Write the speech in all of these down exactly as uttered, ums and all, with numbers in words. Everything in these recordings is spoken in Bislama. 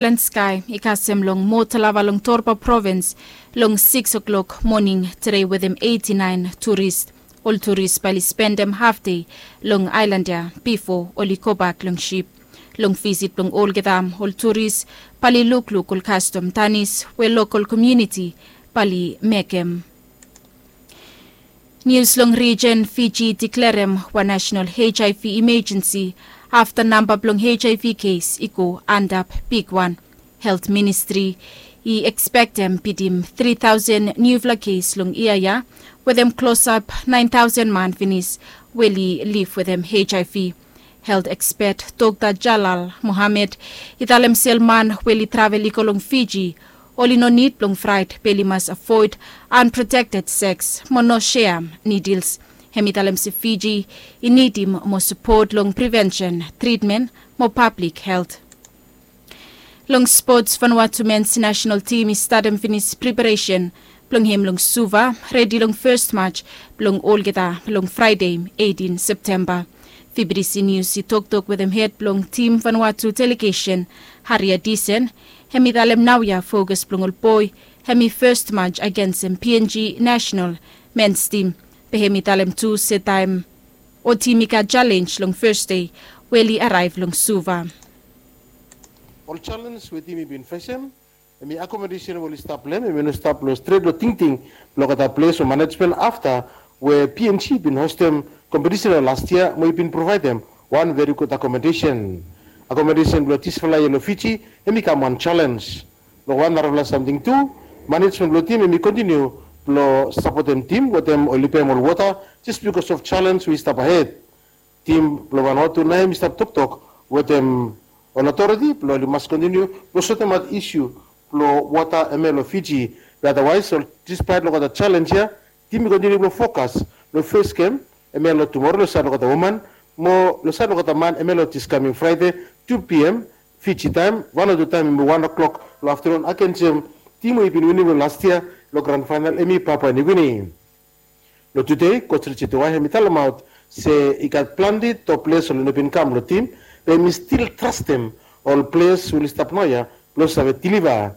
Island Sky i kasem long Motalava long Torba provins long sikis o'klok moning tede wetem eiti naen turist. Ol turist bae oli spendem hafdei long aelan ya bifo oli gobak long sip. Long visit blong olgeta ol turist bae oli lukluk ol kastom danis we lokol komuniti bae oli mekem. Nius long rijen, Fiji i deklarem wan nasenal HIV imajensi afta namba blong HIV kes i go antap bigwan. Helt Ministri i ekspektem bitim tri taosen niufala kes long yia ya, wetem klosap naen taosen man finis we oli liv wetem HIV. Helt ekspet Dokta Jalal Mohammed i talem se ol man we oli travel i go long Fiji oli no nid blong fraet be oli mas avoed anprotekted seks mo no seam nidils. Hem i talem se Fiji i nidim moa sapot long prevensen, tritmen mo pablik helt. Long spots, Vanuatu mens nasenal tim i statem finis preparesen blong hem long Suva, redi long fes maj blong olgeta long Fraede eitin Septemba. VBTC Nius i toktok wetem hed blong tim Vanuatu delegesen, Haria Disen. Hem i talem naoia fokas blong ol boe hem i fes maj agensem PNG nasenal mens tim. Be hem i talem tu se taem o tim i gat jalenj long Fes dei we oli araev long Suva. Ol jalenj we tim i bin fesem, hem i akomodesen we oli stap long hem, hem i no stap long stret long tingting blong olgeta ples o manejmen afta we PNG i bin hostem kompetisen long las yia mo i bin provaedem wan veri gud akomodesen. Akomodesen blong disfala yia long Fiji hem i kam wan jalenj. Long wan narafala samting tu, manejmen blong tim hem i kontiniu blong sapotem tim wetem oli pem ol wota jes bikos of jalenj we i stap ahed. Tim blong Vanuatu nao hem i stap toktok wetem ol otoriti blong oli mas kontiniu blong sotemaot isu blong wota hemia long Fiji. Be adawaes, ol, dispaet long olgeta jalenj ya, tim i kontiniu blong fokas long fes gem hemia long tumoro long saed long olgeta woman mo long saed long olgeta man hemia long dis kaming Fraede, tu PM Fiji taem, Vanuatu taem hemi wan o'klok long aftenun agensem tim we i bin winim long las yia long gran faenal hemi Papua Niugini. Long tude, Koj Richard Tuwai hem i talemaot se i gat plante top ples oli no bin kam long tim, be hem i stil trastem ol ples we oli stap naoia blong save deliva.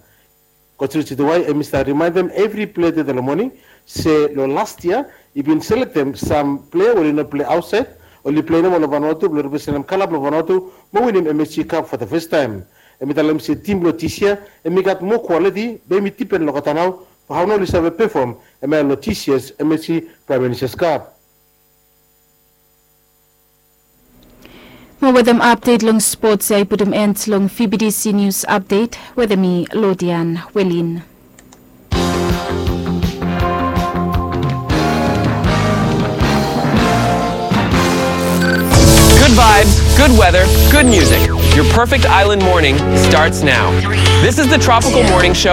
Koj Richard Tuwai hem i stap rimaendem evri plea tede long moning se long las yia i bin selektem sam plea we oli no plea aotsaed, oli plea nomo long Vanuatu blong representem kala blong Vanuatu mo winim MSG Cup for the first time. Hem i talem se tim blong dis yia hem i gat moa kwaliti, be hem i dipen long olgeta nao blong hao nao oli save pefom hemia long dis yia's MSG Prime Minister's Cup. Mo wetem apdet long spots ya i putum en long VBTC Nius Apdet wetem mi, Lodian Welin. Good vibes, good weather, good music. Your perfect island morning starts now. This is the Tropical Morning Show.